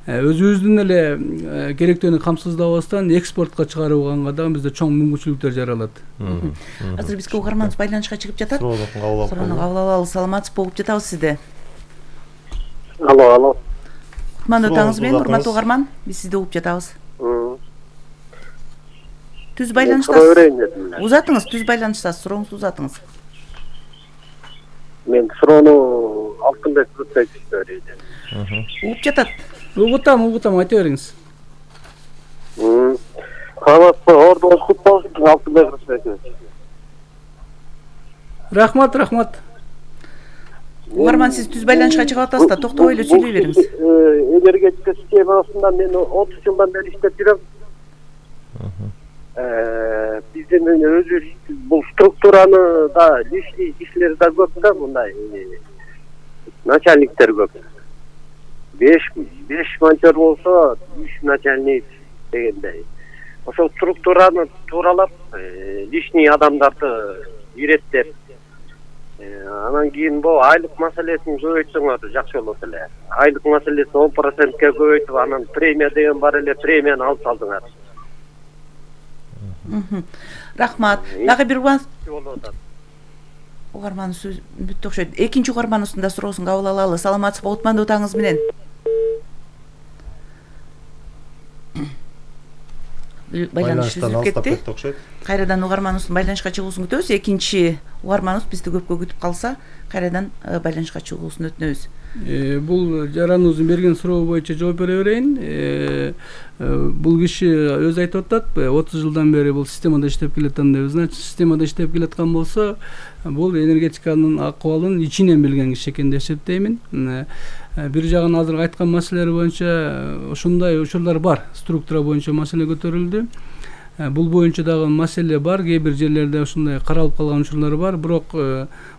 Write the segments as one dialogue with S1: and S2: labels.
S1: өзүбүздүн эле керектөөнү камсыздабастан экспортко чыгарууга дагы бизде чоң мүмкүнчүлүктөр жаралат.
S2: Азыр бизге угарманыбыз байланышка чыгып жатат.
S3: Суроону
S2: кабыл алалы. Саламатсызбы, угуп жатабыз сизди.
S4: Алло.
S2: Кутмандуу таңыңыз менен, урматтуу угарман. Биз сизди угуп жатабыз. Түз байланыштасыз. Узатыңыз, түз байланыштасыз, сурооңузду узатыңыз.
S4: Мен суроону Алтынбек Рысбековичке берейин.
S2: Угуп жатат.
S1: Угутам, айта бериңиз.
S4: Саламатсызбы, ордуңуз кут болсун, Алтынбек Рысбекович.
S1: Рахмат.
S2: Угарман, сиз түз байланышка чыгып атасыз да, токтобой эле сүйлөй бериңиз.
S4: Энергетика системасында мен 30 жылдан бери иштеп жүрөм. Биздин өзүбүз бул структураны да лишний кишилер да көп да, мындай начальниктер көп. 5 монтер болсо 3 начальник дегендей. Ошол структураны тууралап лишний адамдарды иреттеп, анан кийин бул айлык маселесин көбөйтсөңөр жакшы болот эле. Айлык маселесин 10%ке көбөйтүп, анан премия деген бар эле, премияны алып салдыңар.
S2: Рахмат. Дагы бир угарман сөз бүттү окшойт. Экинчи угарманыбыздын да суроосун кабыл алалы. Саламатсызбы, кутмандуу таңыңыз менен. Байланыш үзүлүп кетти. Кайрадан угарманыбыздын байланышка чыгуусун күтөбүз. Экинчи угарманыбыз бизди көпкө күтүп калса, кайрадан байланышка чыгуусун өтүнөбүз.
S1: Бул жараныбыздын берген суроо боюнча жооп бере берейин. Бул киши өзү айтып атат, 30 жылдан бери бул системада иштеп келаткан деп. Значит, системада иштеп келаткан болсо, бул энергетиканын акыбалын ичинен билген киши экен деп эсептеймин. Бир жагын азыр айткан маселелер боюнча ушундай учурлар бар. Структура боюнча маселе көтөрүлдү. Бул боюнча дагы маселе бар. Кээ бир жерлерде ушундай каралып калган учурлар бар. Бирок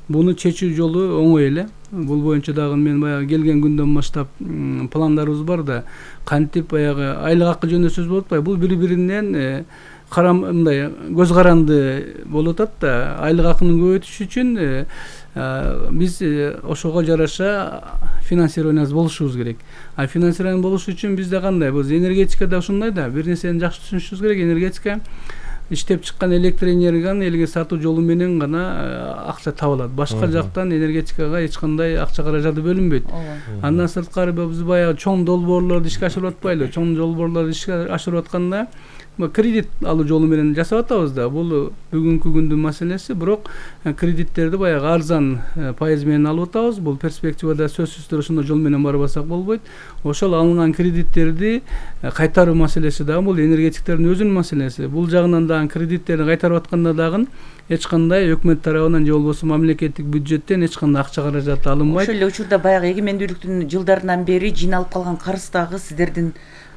S1: буну чечүү жолу оңой эле. Бул боюнча дагы мен баягы келген күндөн баштап пландарыбыз бар да, кантип баягы айлык акы жөнүндө сөз болуп атпайбы? Бул бири-биринен мындай көз каранды болуп атат да. Айлык акынын көбөйтүш үчүн биз ошого жараша финансированиябыз болушубуз керек. Финансирование болуш үчүн бизде кандай? Биз энергетикада ушундай да, бир нерсени жакшы түшүнүшүбүз керек. Энергетика иштеп чыккан электр энергияны элге сатуу жолу менен гана акча табылат. Башка жактан энергетикага эч кандай акча каражаты бөлүнбөйт. Андан сырткары биз баягы чоң долбоорлорду ишке ашырып атпайлы. Чоң долбоорлорду ишке ашырып атканда кредит алуу жолу менен жасап атабыз да. Бул бүгүнкү күндүн маселеси. Бирок кредиттерди баягы арзан пайыз менен алып атабыз. Бул перспективада сөзсүз түрдө ошондой жол менен барбасак болбойт. Ошол алынган кредиттерди кайтаруу маселеси дагы бул энергетиктердин өзүнүн маселеси. Бул жагынан дагы кредиттерди кайтарып атканда дагы эч кандай өкмөт тарабынан же болбосо мамлекеттик бюджеттен эч кандай акча каражаты алынбайт.
S2: Ошол эле учурда баягы эгемендүүлүктүн жылдарынан бери жыйналып калган карыз дагы сиздердин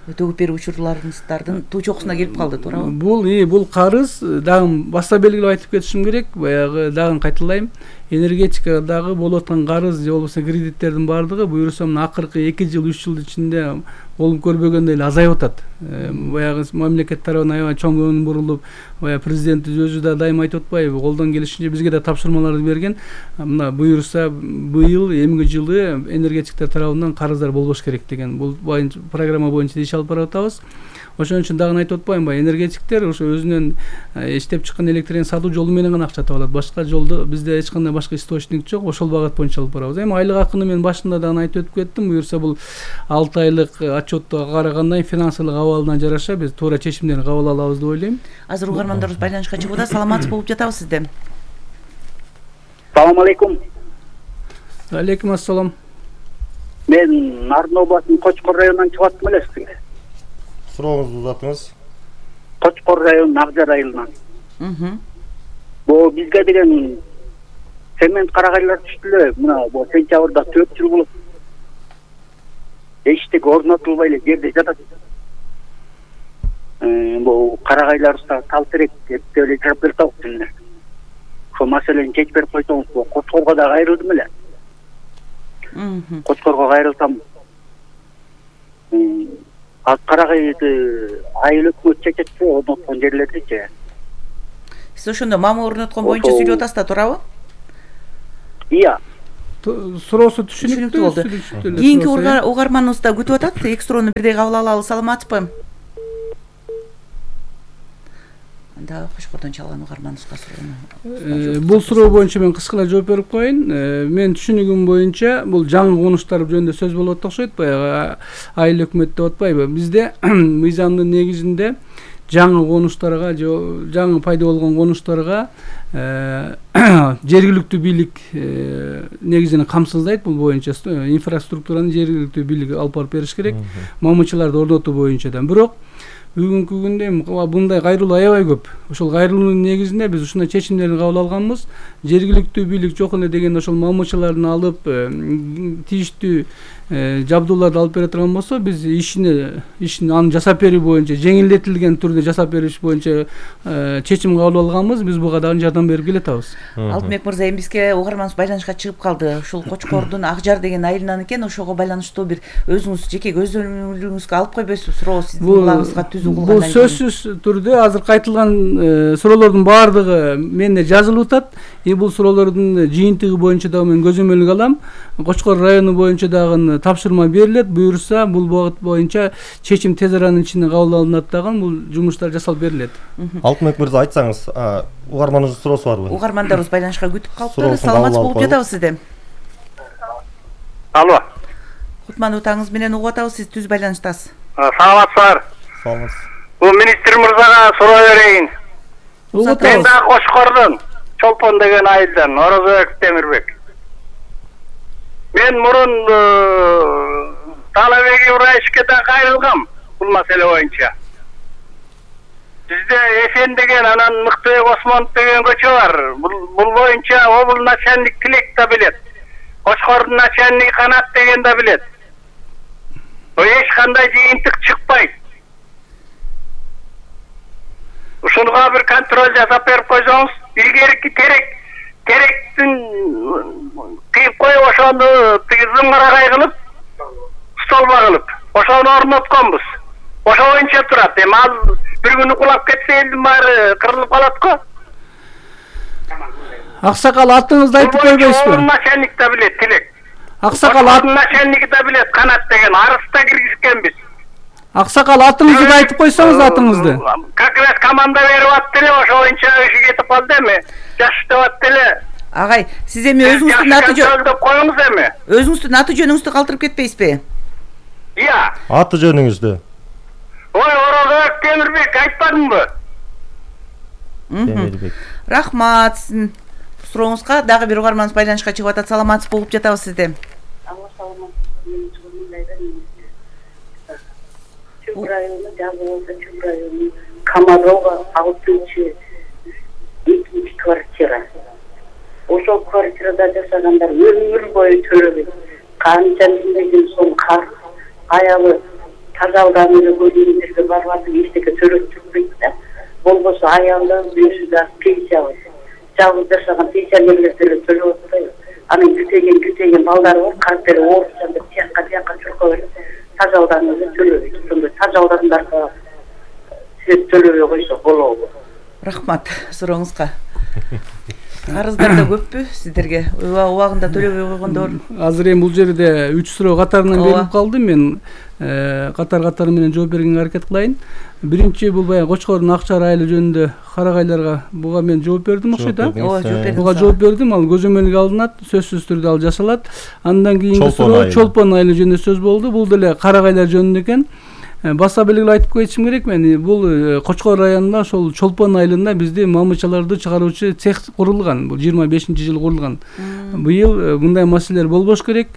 S2: өтөгүп берүү учурларыңыздардын туу чокусуна келип калды, туурабы?
S1: Бул карыз дагы баса белгилеп айтып кетишим керек. Баягы дагы кайталайм. Энергетика дагы болуп аткан карыз же болбосо кредиттердин баардыгы буюрса акыркы 2 жыл 3 жыл ичинде болуп көрбөгөндөй эле азайып атат. Баягы мамлекет тарабынан аябай чоң көңүл бурулуп, баягы президент өзү да дайыма айтып атпайбы, колдон келишинче бизге да тапшырмаларды берген. Мына буюрса быйыл эмки жылы энергетиктер тарабынан карыздар болбош керек деген. Бул программа боюнча иш алып барып атабыз. Ошон үчүн дагы айтып атпаймынбы, энергетиктер ошо өзүнүн иштеп чыккан электр сатуу жолу менен гана акча табалат. Башка жолду бизде эч кандай башка источник жок. Ошол багыт боюнча алып барабыз. Эми айлык акыны мен башында дагы айтып өтүп кеттим. Буюрса бул 6 айлык отчетту караганда финансылык абалына жараша биз туура чечимдерди кабыл алабыз деп ойлойм.
S2: Азыр угармандарыбыз байланышка чыгууда. Саламатсыз болуп жатабыз сизде.
S5: Салам алейкум.
S1: Алейкум ассалам.
S5: Мен Нарын областынын Кочкор районунан чыгып аттым эле сизге.
S3: Сурооңузду узатыңыз.
S5: Кочкор районунун Акжар айылынан. Бул бизге деген цемент карагайлар түштү эле. Мына бул сентябрда 4 жыл болот. Эчтеке орнотулбай эле жерде жатат. Бул карагайларыбызда талтерек деп эле жарап берип атабыз. Ошол маселени чечип берип койсоңуз, Кочкорго да кайрылдым эле. Кочкорго кайрылсам, карагайды айыл өкмөт чечет, орноткон жерлердичи.
S2: Сиз ошондо мама орноткон боюнча сүйлөп атасыз да, туурабы?
S5: Ия.
S1: суроосу түшүнүктүү
S2: болду. Кийинки угарманыбыз да күтүп атат. Эки суроону бирдей кабыл алалы. Саламатсызбы? Анда Кочкордон чалган угарманыбызга суроону.
S1: Бул суроо боюнча мен кыскалай жооп берип коеюн. Мен түшүнүгүм боюнча бул жаңы конуштар жөнүндө сөз болуп атышат, баягы айыл өкмөт деп атпайбы? Бизде мыйзамдын негизинде жаңы конуштарга же жаңы пайда болгон конуштарга жергиликтүү бийлик негизинен камсыздайт. Бул боюнча инфраструктураны жергиликтүү бийлик алып барып бериш керек. Мамычыларды орнотуу боюнча да. Бирок бүгүнкү күндө мындай кайрылуу аябай көп. Ошол кайрылуунун негизинде биз ушундай чечимдерди кабыл алганбыз. Жергиликтүү бийлик жок эле дегенде ошол мамычыларды алып тийиштүү жабдууларды алып бере турган болсо, биз ишин аны жасап берүү боюнча жеңилдетилген түрдө жасап бериш боюнча чечим кабыл алганбыз. Биз буга дагы жардам берип келатабыз.
S2: Алтынбек мырза, эми бизге угарманыбыз байланышка чыгып калды. Ушул Кочкордун Ак Жар деген айылынан экен. Ошого байланыштуу бир өзүңүз жеке көзөмөлүңүзгө алып койбойсузбу? Суроо сиздин кулагыңызга түзүү кылгандан кийин. Бул
S1: сөзсүз түрдө азыр айтылган суроолордун баардыгы менде жазылып атат. Бул суроолордун жыйынтыгы боюнча дагы мен көзөмөлгө алам. Кочкор району боюнча дагы тапшырма берилет. Буюрса бул багыт боюнча чечим тез аранын ичинде кабыл алынат дагы бул жумуштар жасалып берилет.
S3: Алтынбек мырза, айтсаңыз, угарманыбыздын суроосу барбы?
S2: Угармандарыбыз байланышка күтүп калыптыр. Саламатсыз болуп жатабыз сизден.
S4: Алло.
S2: Кутман утаңыз менен угуп атабыз, сиз түз байланыштасыз.
S4: Саламатсыздар.
S3: Саламатсыз.
S4: Бул министр мырзага суроо берейин. Мен да Кочкордон Чолпон деген айылдан Орозбек Темирбек. Мен мурун Талабек Ибраишевге кайрылгам бул маселе боюнча. Бизде Эфен деген, анан Мыктыбек Осмонов деген көчө бар. Бул боюнча обул начальник Тилек да билет. Кочкордун начальниги Канат деген да билет. Эч кандай жыйынтык чыкпайт. Ушунга бир контроль жасап берип койсоңуз, илгерки теректин кыйып коюп, ошону зымгырагай кылып, столба кылып, ошону орнотконбуз. Ошо боюнча турат. Эми ал бир күнү кулап кетсе, элдин баары кырылып калат го.
S1: Аксакал, атыңызды айтып койбойсузбу?
S4: Начальник да билет, Тилек.
S1: Аксакал,
S4: начальники да билет, Канат деген. Арыста киргизгенбиз.
S1: Аксакал, атыңызды айтып койсоңуз, атыңызды.
S4: Как раз команда берип атты эле, ошо боюнча иши кетип калды эми. Жаш деп атты эле.
S2: Агай, сиз эми өзүңүздүн аты
S4: жөнүңдү коюңуз эми.
S2: Өзүңүздүн аты жөнүңүздү калтырып кетпейсизби?
S4: Ия.
S3: Аты жөнүңүздү.
S4: Ой, Орозбек Темирбек, айтпадыңбы?
S3: Темирбек.
S2: Рахмат. Сиздин сурооңузга дагы бир угарманыбыз байланышка чыгып атат. Саламатсыз болуп жатабыз сизде.
S6: Чүп району, Жабылса Чүп району, Комарова 6-2 квартира. Ошол квартирада жашагандар өмүр бою төлөбөйт. Канча миңдеген сом карыз, аялы тазалданып көргөндөргө барбатып эчтеке төлөп турбайт да. Болбосо аялы өзү да пенсия алат. Жалгыз жашаган пенсионерлер деле төлөп атпайбы? Анын күтеген балдары бар, картери ооручанды тияка чуркап берип, тазалданып төлөбөйт. Ошондой тазалдандарга сиз төлөбөй койсо болобу?
S2: Рахмат сурооңузга. Карыздар да көппү сиздерге? Убагында төлөбөй койгондор?
S1: Азыр эми бул жерде 3 суроо катарынан берилип калды. Мен катар менен жооп бергенге аракет кылайын. Биринчи бул баягы Кочкордун Ак Жар айылы жөнүндө карагайларга буга мен жооп бердим окшойт, а? Буга жооп бердим. Ал көзөмөлгө алынат, сөзсүз түрдө ал жасалат. Андан кийинки суроо Чолпон айылы жөнүндө сөз болду. Бул деле карагайлар жөнүндө экен. Баса белгилеп айтып кетишим керек мен. Бул Кочкор районунда ошол Чолпон айылында бизде мамычаларды чыгаруучу цех курулган. Бул 25-жылы курулган. Быйыл мындай маселелер болбош керек.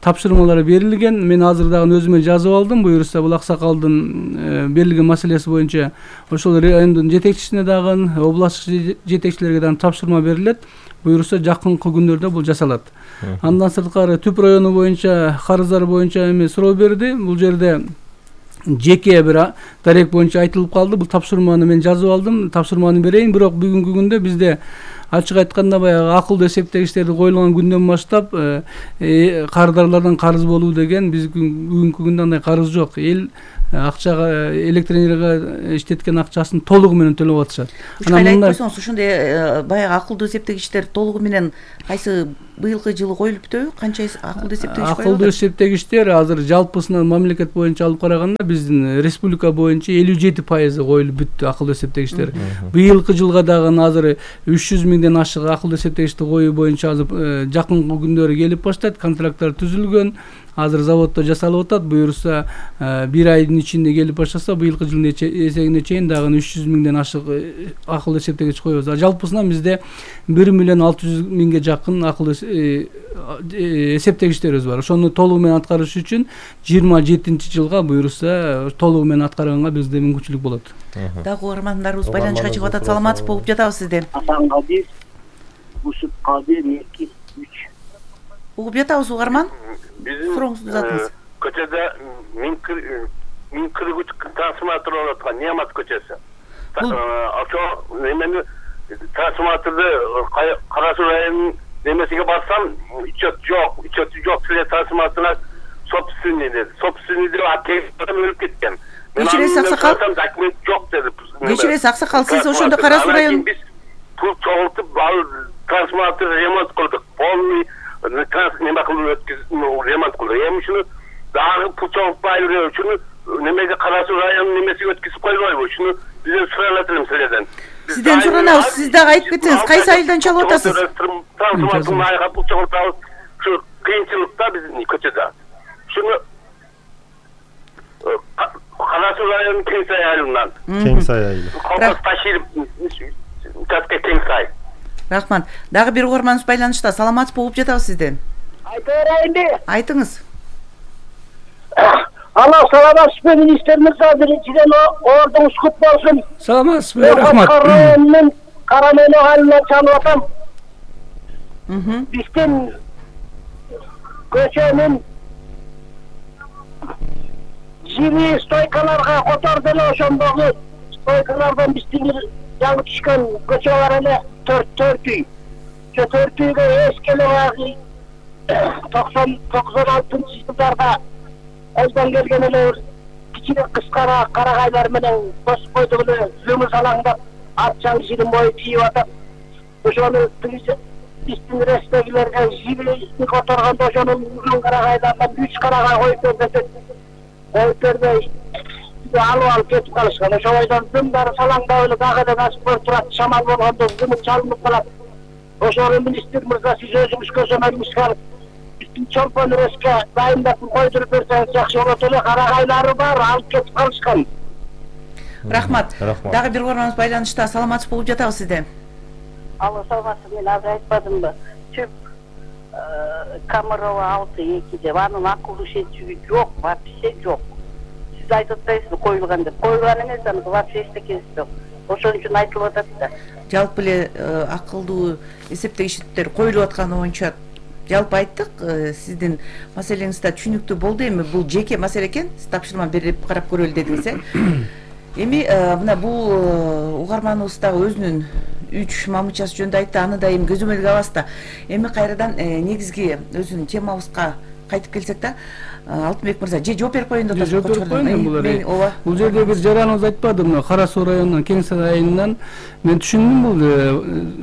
S1: Тапшырмалары берилген. Мен азыр дагы өзүмө жазып алдым. Буюрса бул аксакалдын берилген маселеси боюнча ошол райондун жетекчисине дагы, областтык жетекчилерге дагы тапшырма берилет. Буюрса жакынкы күндөрдө бул жасалат. Андан сырткары Түп району боюнча карыздар боюнча эми суроо берди. Бул жерде жеке бир дарек боюнча айтылып калды. Бул тапшырманы мен жазып алдым. Тапшырманы берейин. Бирок бүгүнкү күндө бизде ачык айтканда баягы акылдуу эсептегичтерди коюлган күндөн баштап кардарлардан карыз болуу деген биз бүгүнкү күндө андай карыз жок. Эл акчага электр энергияга иштеткен акчасын толугу менен төлөп атышат.
S2: Ушкайлы айтып койсоңуз, ушундай баягы акылдуу эсептегичтер толугу менен кайсы быйылкы жылы коюлуп бүттүбү? Канча акылдуу эсептегич коюлат?
S1: Акылдуу эсептегичтер азыр жалпысынан мамлекет боюнча алып караганда биздин республика боюнча 57% коюлуп бүттү акылдуу эсептегичтер. Быйылкы жылга дагы азыр 300 миңден ашык акылдуу эсептегичти коюу боюнча азыр жакынкы күндөрү келип баштайт. Контракттар түзүлгөн. Азыр заводдо жасалып атат. Буюрса 1 айдын ичинде келип баштаса, быйылкы жылдын эсегине чейин дагы 300 миңден ашык акылдуу эсептегич коебуз. Жалпысынан бизде 1 миллион 600 миңге жакын акылдуу эсептегичтерибиз бар. Ошону толугу менен аткарыш үчүн 27-жылга буюрса толугу менен аткарганга бизде мүмкүнчүлүк болот.
S2: Дагы угармандарыбыз байланышка чыгып атат. Саламатсызбы, угуп жатабыз сизден.
S5: Асанкадир, Бусуккадир 2-3.
S2: Угуп жатабыз угарман.
S7: Биздин
S2: Сурооңузду узатыңыз.
S7: Көчөдө миң кыргыч трансформатор орнотулган, Немат көчөсү. Ошо немени трансформаторду Кара Суу районунун немесиге барсам, учет жок силер трансформаторуна собственный деди. Собственный деп атем өлүп кеткен.
S2: Кечиресиз аксакал.
S7: Документ жок деди.
S2: Кечиресиз аксакал, сиз ошондо Кара Суу район
S7: биз пул чогултуп трансформатор ремонт кылдык. Полный неме кылып өткөзүп ремонт кылдык. Эми ушуну дагы пул чогултпай эле ушуну немеге Кара Суу районунун немесиге өткөзүп койбойбу? Ушуну бизден суралат элем силерден.
S2: Сизден суранабыз, сиз дагы айтып кетсеңиз, кайсы айылдан чалып атасыз?
S7: Трансформатордун айга пул чогултабыз. Ушу кыйынчылыкта биздин көчөдө. Ушуну Кара Суу районунун Кеңсай айылынан.
S3: Кеңсай айылы.
S7: Колкос Таширов участка Кеңсай.
S2: Рахмат. Дагы бир угарманыбыз байланышта. Саламатсызбы, угуп жатабыз сизден.
S5: Айта берейинби?
S2: Айтыңыз.
S5: Алла саламатсызбы, министр мырза, биринчиден ордуңуз кут болсун.
S1: Саламатсызбы, рахмат.
S5: Районунун Карамеле айылынан чалып атам. Биздин көчөнүн жири стойкаларга которду эле, ошондогу стойкалардан биздин жаңы түшкөн көчө бар эле, 4 үй. Ошо 4 үйгө эски эле баягы 96-жылдарда элден келген эле кичине кыскара карагайлар менен косуп койдук эле, жумуш алаңдап ат жаңы жирин бою тийип атат. Ошону биздин рестегилерге жибини которгондо ошонун узун карагайлардан 3 карагай коюп бербесек, коюп бербей алып кетип калышкан. Ошол бойдон дымдары салаңдап эле дагы эле насып болуп турат, шамал болгондо жумуш чалынып калат. Ошону министр мырза, сиз өзүңүз көзөмөлүңүз алып биздин чолпон реске дайындап койдуруп берсеңиз жакшы болот эле. Карагайлары бар, алып кетип калышкан.
S2: Рахмат. Дагы бир угарманыбыз байланышта. Саламатсызбы, угуп жатабыз сизден.
S6: Алла саламатсыз, мен азыр айтпадымбы? Чөп Камырова 6-2 деп, анын акылдуу эсептегичи жок, вообще жок. Сиз айтып атпайсызбы коюлган деп? Коюлган эмес, аны вообще эчтекеси жок. Ошон үчүн айтылып атат да.
S2: Жалпы эле акылдуу эсептегичтер коюлуп атканы боюнча жалпы айттык. Сиздин маселеңиз да түшүнүктүү болду. Эми бул жеке маселе экен. Сиз тапшырма берип карап көрөлү дедиңиз, Эми мына бул угарманыбыз дагы өзүнүн 3 мамычасы жөнүндө айтты. Аны да эми көзөмөлгө алабыз да. Эми кайрадан негизги өзүнүн темабызга кайтып келсек да, Алтынбек мырза, же жооп берип коеюн деп атасыз.
S1: Жооп берип коеюн. Бул жерде бир жараныбыз айтпадым, Кара Суу районунун Кеңсай айылынан мен түшүндүм бул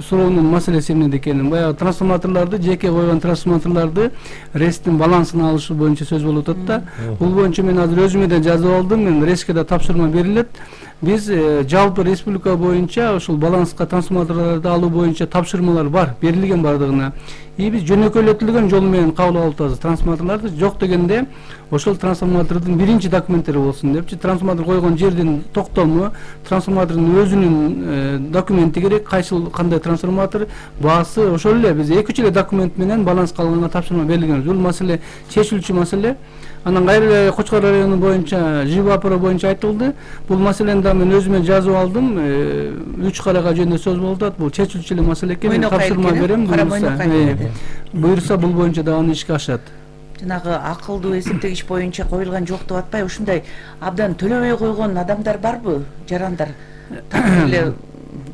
S1: суроонун маселеси эмнеде экенин. Баягы трансформаторлорду, жеке койгон трансформаторлорду ресттин балансын алышы боюнча сөз болуп атат да. Бул боюнча мен азыр өзүмө да жазып алдым. Мен реске да тапшырма берилет. Биз жалпы республика боюнча ушул баланска трансформаторлорду алуу боюнча тапшырмалар бар, берилген бардыгына. Биз жөнөкөйлөтүлгөн жол менен кабыл алып атабыз трансформаторлорду. Жок дегенде ошол трансформатордун биринчи документтери болсун депчи. Трансформатор койгон жердин токтому, трансформатордун өзүнүн документи керек, кандай трансформатор, баасы, ошол эле биз 2-3 эле документ менен баланска алганга тапшырма берилген. Бул маселе чечилүүчү маселе. Анан кайра эле Кочкор району боюнча ЖИБАПР боюнча айтылды. Бул маселени да мен өзүмө жазып алдым. 3 карага жөнүндө сөз болуп атат. Бул чечилүүчү эле маселе экен. Тапшырма берем. Буюрса бул боюнча да аны ишке ашат.
S2: Жанагы акылдуу эсептегич боюнча коюлган жок деп атпай, ушундай абдан төлөбөй койгон адамдар барбы, жарандар?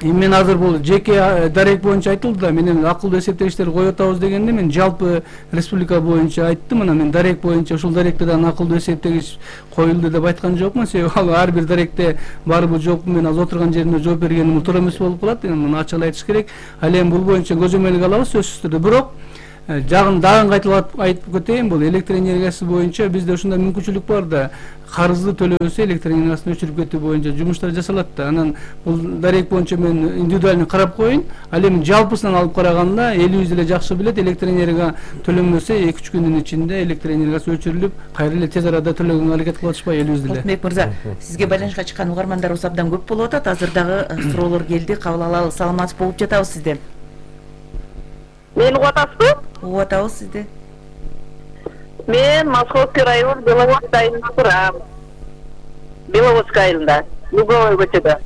S1: Эми мен азыр бул жеке дарек боюнча айтылды да, мен акылдуу эсептегичтерди коюп атабыз дегенде мен жалпы республика боюнча айттым. Мына мен дарек боюнча ушул даректе дагы акылдуу эсептегич коюлду деп айткан жокмун. Себеби ал ар бир даректе барбы жокпу мен азыр отурган жеримде жооп бергеним туура эмес болуп калат. Муну ачык эле айтыш керек. Ал эми бул боюнча көзөмөлгө алабыз сөзсүз түрдө. Бирок дагы кайталап айтып кетейин, бул электр энергиясы боюнча бизде ушундай мүмкүнчүлүк бар да, карызды төлөбөсө электр энергиясын өчүрүп кетүү боюнча жумуштар жасалат да. Анан бул дарек боюнча мен индивидуально карап коеюн. Ал эми жалпысынан алып караганда элибиз эле жакшы билет, электр энергия төлөнбөсө 2-3 күндүн ичинде электр энергиясы өчүрүлүп, кайра эле тез арада төлөгөнгө аракет кылып атышпайбы элибиз деле.
S2: Алтынбек мырза, сизге байланышка чыккан угармандарыбыз абдан көп болуп атат. Азыр дагы суроолор келди, кабыл алалы. Саламатсыз болуп жатабыз сизде.
S8: Мени угуп атасызбы?
S2: Угуп атабыз сизди.
S8: Мен Московский район Беловодск айылында турам. Беловодск айылында, Луговой көчөдө.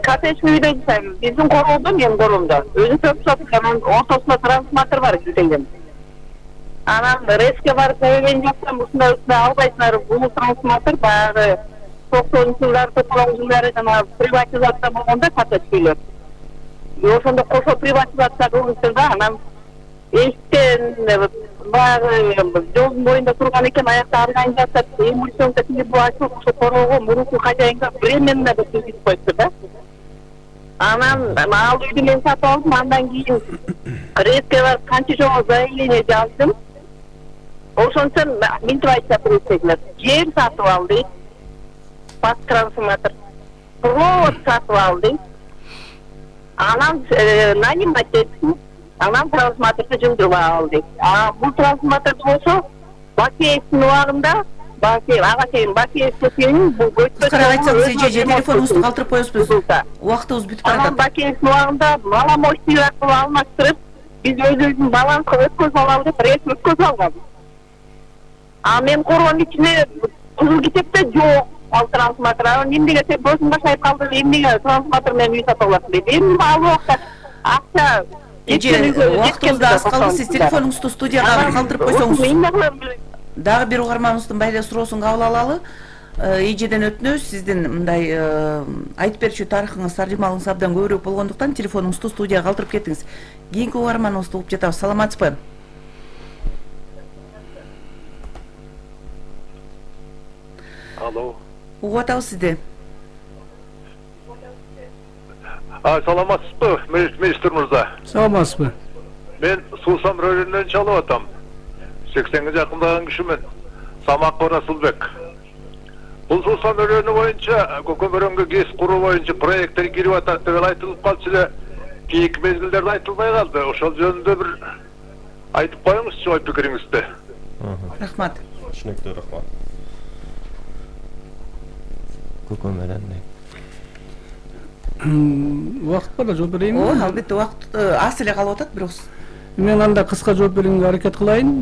S8: Коттеджный үйдө жашайм. Биздин короодо, менин короомдо. Өзү төп анан ортосунда трансформатор бар килтеген. Анан резке барып көйгөн жаксам, ушундай албайсыңар, бул трансформатор баягы 90-жылдар, 90-жылдары жана приватизация болгондо коттедж үйлөр. Ошондо кошо приватизация кылышты да, анан эшиктен баягы жолдун боюнда турган экен, аякта организация эмульсионка тигип ачылып, ошо короого мурунку хозяинга временно деп түзүп коюпту да. Анан ал үйдү мен сатып алдым, андан кийин резке барып канча жолу заявление жаздым. Ошончон минтип айтса председатель, жер сатып алды, пас трансформатор, провод сатып алды. Анан нанимать этти, анан трансформаторду жылдырып алды. Бул трансформатор болсо Бакеевдин убагында, ага чейин Бакеев көчөнүн бул көчкө
S2: карап айтсаңыз, телефонуңузду калтырып коесузбуз. Убактыбыз бүтүп барат.
S8: Анан Бакеевдин убагында маломощный аркылуу алмаштырып, биз өзүбүздүн баланска өткөзүп алалы деп ресми өткөзүп алган. Мен короонун ичине кызыл китепте жок. Ал трансформатор, эмнеге сен көзүң башайып калды, эмнеге трансформатор менен үй сатып аласың дейт. Эми ал убакта акча
S2: убактыбыз да аз калды. Сиз телефонуңузду студияга калтырып койсоңуз. Дагы бир угарманыбыздын байле суроосун кабыл алалы. Эжеден өтүнөбүз, сиздин мындай айтып берчү тарыхыңыз, таржымалыңыз абдан көбүрөөк болгондуктан телефонуңузду студияга калтырып кеттиңиз. Кийинки угарманыбызды угуп жатабыз. Саламатсызбы?
S7: Алло.
S2: Угуп атабыз сизди.
S7: Саламатсызбы, министр мырза?
S1: Саламатсызбы?
S7: Мен Суусам районунан чалып атам. 80-ге жакындаган кишимен. Самаков Расулбек. Бул Суусам району боюнча көкөмөрөнгө ГЭС куруу боюнча проекттер кирип атат деп айтылып калчу эле. Кийинки мезгилдерде айтылбай калды. Ошол жөнүндө бир айтып коюңузчу ой пикириңизди.
S2: Рахмат.
S3: Түшүнүктүү, рахмат. Көкөмөрөндө
S1: убакыт бар да жооп берейинби?
S2: Ооба, албетте убакыт аз эле калып атат, бирок
S1: мен анда кыска жооп берүүгө аракет кылайын.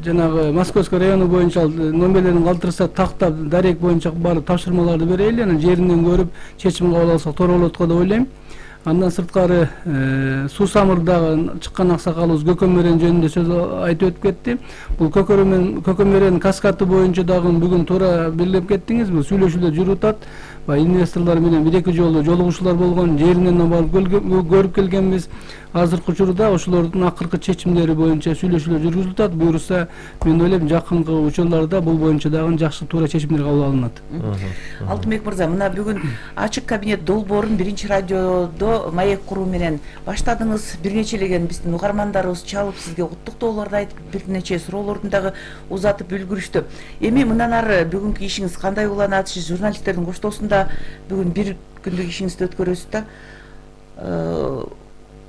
S1: Жанагы Московский району боюнча номерлерин калтырса тактап дарек боюнча барып тапшырмаларды берели, анан жеринен көрүп чечим кабыл алсак туура болот го деп ойлойм. Андан сырткары Суусамырдагы чыккан аксакалыбыз көкөмөрөн жөнүндө сөз айтып өтүп кетти. Бул көкөмөрөн каскаты боюнча дагы бүгүн туура белгилеп кеттиңиз. Бул сүйлөшүүлөр жүрүп атат. Инвесторлор менен 1-2 жолу жолугушуулар болгон, жеринен барып көрүп келгенбиз. Азыркы учурда ошолордун акыркы чечимдери боюнча сүйлөшүүлөр жүргүзүлүп атат. Буюрса, мен ойлойм жакынкы учурларда бул боюнча дагы жакшы туура чечимдер кабыл алынат.
S2: Алтынбек мырза, мына бүгүн ачык кабинет долбоорун биринчи радиодо маек куруу менен баштадыңыз. Бир нечелеген биздин угармандарыбыз чалып, сизге куттуктоолорду айтып, бир нече суроолордун дагы узатып үлгүрүштү. Эми мындан ары бүгүнкү ишиңиз кандай уланат? Сиз журналисттердин коштоосунда бүгүн бир күндүк ишиңизди өткөрөсүз да.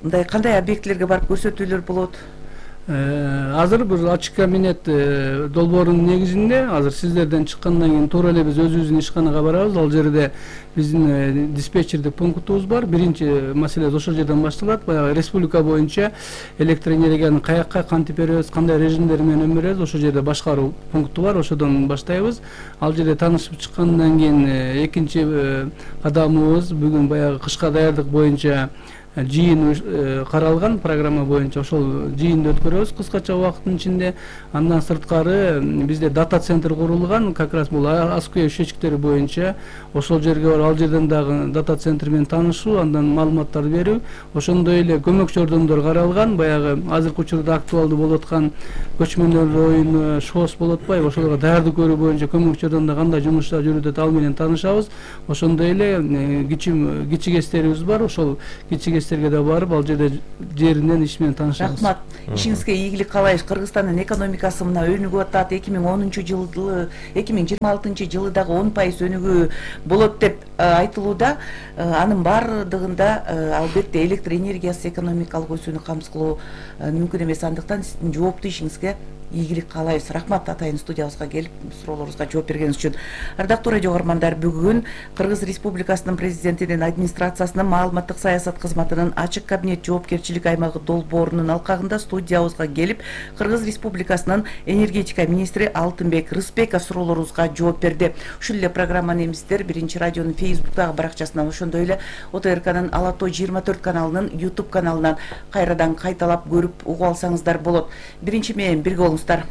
S2: Мындай кандай объектилерге барып көрсөтүүлөр болот?
S1: Азыр бир ачык кабинет долбоорунун негизинде азыр сиздерден чыккандан кийин туура эле биз өзүбүздүн ишканага барабыз. Ал жерде биздин диспетчердик пунктубуз бар. Биринчи маселе ошол жерден башталат. Баягы республика боюнча электр энергияны каякка кантип беребиз, кандай режимдер менен беребиз, ошол жерде башкаруу пункту бар. Ошодон баштайбыз. Ал жерде таанышып чыккандан кийин экинчи кадамыбыз бүгүн баягы кышка даярдык боюнча жыйын каралган программа боюнча. Ошол жыйынды өткөрөбүз кыскача убакыттын ичинде. Андан сырткары бизде дата центр курулган, как раз бул АСК счетчиктери боюнча. Ошол жерге барып, ал жерден дагы дата центр менен таанышуу, андан маалыматтар берүү. Ошондой эле көмөкчү ордондор каралган. Баягы азыркы учурда актуалдуу болуп аткан көчмөндөр оюну, ШОС болуп атпайбы? Ошолорго даярдык көрүү боюнча көмөкчү ордондо кандай жумуштар жүрүп, ал менен таанышабыз. Ошондой эле кичигестерибиз бар. Ошол кичигестерге да барып, ал жерде жеринен иш менен таанышабыз.
S2: Рахмат. Ишиңизге ийгилик каалайбыз. Кыргызстандын экономикасы мына өнүгүп атат. 2010-жылы, 2026-жылы дагы 10% өнүгүү болот деп айтылууда. Анын бардыгында албетте электр энергиясы экономикалык өсүүнү камсыз кылуу мүмкүн эмес. Андыктан сиздин жооптуу ишиңизге ийгилик каалайбыз. Рахмат атайын студиябызга келип суроолорубузга жооп бергениңиз үчүн. Ардактуу радио угармандар, бүгүн Кыргыз Республикасынын президентинин администрациясынын маалыматтык саясат кызматынын ачык кабинет жоопкерчилик аймагы долбоорунун алкагында студиябызга келип Кыргыз Республикасынын энергетика министри Алтынбек Рыспеков суроолорубузга жооп берди. Ушул эле программаны эмиздер Биринчи радионун Facebook'тагы баракчасынан, ошондой эле ОТРКнын Ала Тоо 24 каналынын YouTube каналынан кайрадан кайталап көрүп угуп алсаңыздар болот. Биринчи менен бирге болуңуздар.